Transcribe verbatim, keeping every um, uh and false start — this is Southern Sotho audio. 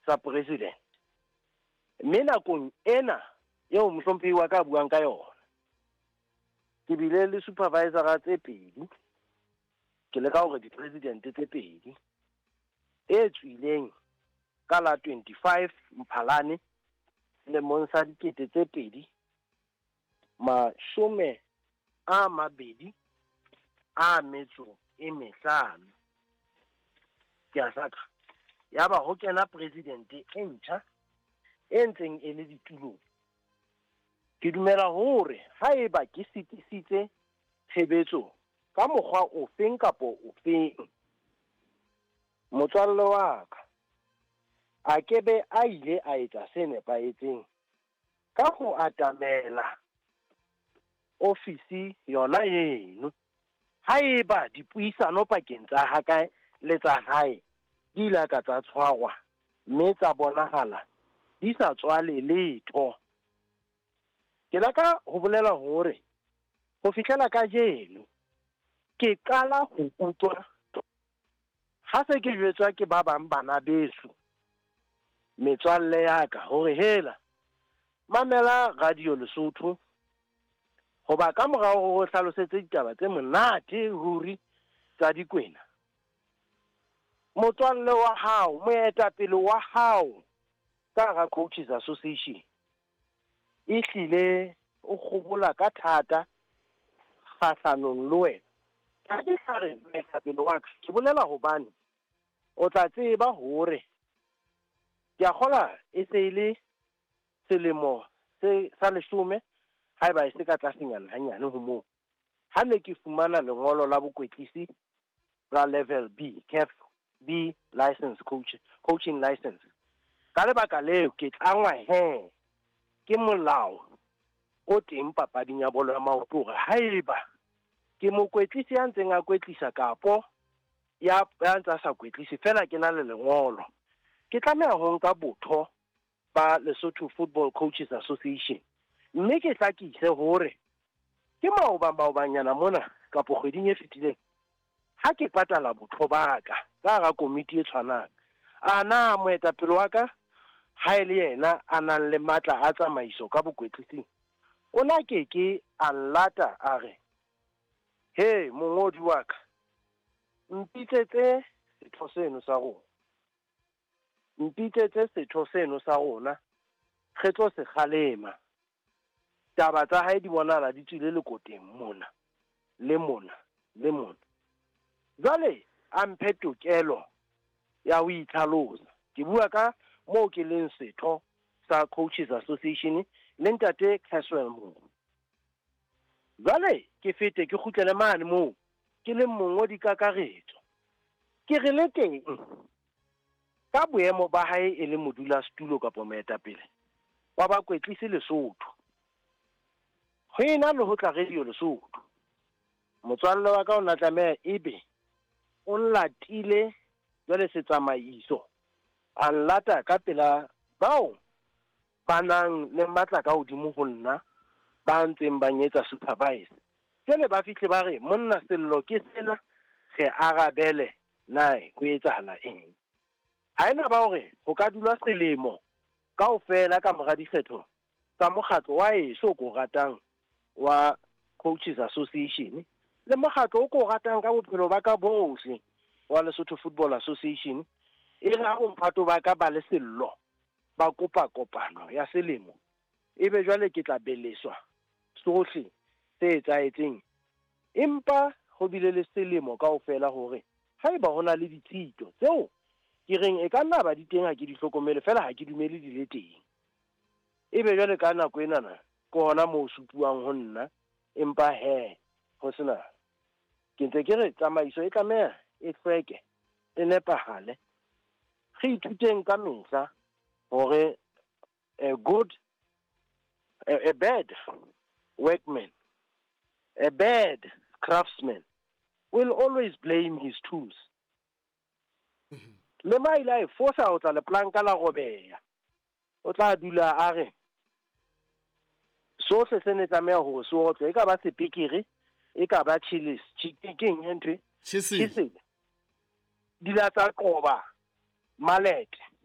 tsa president. Mme nakong ena eo mohlomphehi wa ka buang ka yona, ke bile le supervisor tse pedi, ke leka hore di-president tse pedi e tswileng ka la twenty-five Mphalane selemong sa dikete tse pedi mashome a mabedi a metso e mehlano. Ke a hlaka. Yaba ho kena president e ntjha e ntseng e le ditulong. Ke dumela hore haeba ke sitisitse tshebetso ka mokgwa ofeng kapo ofeng, motswalle wa ka a ke be a ile a etsa se nepahetseng ka ho atamela ofisi yona eno. Haeba dipuisano pakeng tsa ha ka le tsa hae di ile ka tsa tshwarwa mme tsa bonahala di sa tswale letho. Ke laka ho bolela hore ho fihlela kajeno ke qala ho utlwa ha se ke jwetswa ke ba bang bana beso, metswalle ya ka, hore hela mamela Radio Lesotho, hoba ka morao ho hlalosetse ditaba tse monate ruri tsa dikwena. Motswalle wa hao, moetapele wa hao ka hara Coaches Association ehlile o kgobola ka thata kgahlanong le wena. Ha ke sa re moetapele wa ka, ke bolela hobane o tla tseba hore ke a kgola e se e le selemo se sa leshome, haeba e se ka tlasenyana hanyane ho moo, ha ne ke fumana lengolo la bokwetlisi la level B, C A F B license coach, coaching license. Ka lebaka leo ke tlangwa he ke molao o teng papading ya bolo ya maoto hore haeba ke mokwetlisi ya ntseng a kwetlisa kapo ya ya ntse a sa kwetlise fela ke na le lengolo, ke tlameha ho nka botho ba Lesotho Football Coaches Association, mme ke hlakise hore ke maoba maobanyana mona kapo kgweding e fetileng ha ke patala botho ba ka ka hara komiti e tshwanang, a na moetapele wa ka ha e le yena a nang le matla a tsamaiso ka bokwetlising, o na ke ke a nlata a re, he mongodi wa ka, mpitsetse setho seno sa rona, mpitsetse setho seno sa rona, re tlo se kgalema. Taba tsa hae di bonahala di tswile lekoteng mona le mona le mona. Jwale a mphe tokelo ya ho itlhalosa. Ke bua ka moo ke leng setho sa Coaches Association le ntate Caswell Moore. Jwale ke fete ke kgutlele mane moo ke leng mongodi kakaretso. Ke re le teng ka boemo ba hae e le modulasetulo kapa moetapele wa bakwetlisi Lesotho, ho ena le ho tla Radio Lesotho, motswalle wa ka o na tlameha ebe o nlatile jwale setsamaiso, a nlata ka pela bao ba nang le matla ka hodimo ho nna, ba ntseng ba nyetsa supervise. Jwale ba fihle ba re, monna sello ke sena, re arabele na ho etsahala eng. Ha ena ba hore ho ka dula selemo kaofela ka mora dikgetho tsa mokgatlo wa eso ko ratang wa Coaches Association le mokgatlo o ko ratang ka bophelo ba ka bohle wa Lesotho Football Association, e re ha bomphato ba ka ba le sello ba kopa kopano ya selemo, ebe jwale ke tla beleswa sohle se etsahetseng. Empa ho bile le selemo kaofela hore haeba ho na le ditshito tseo ke reng e ka nna ba di teng, ha ke di hlokomele fela, ha ke dumele di le teng, ebe jwale ka nako enana ke hona moo supuwang ho nna. Empa he ho sena, ke ntse ke re tsamaiso e tlameha e hlweke, e nepahale. Re ithuteng ka mehla hore a good, a, a bad workman, a bad craftsman will always blame his tools. Le ma ile a e fosa ho tla leplanka la robeha, o tla dula a re sohle se ne tlameha hore se otlwe, e ka ba sepekere, e ka ba chillis, ke eng e ntho e? Chisel. Chisel. Di la tsa qoba malete.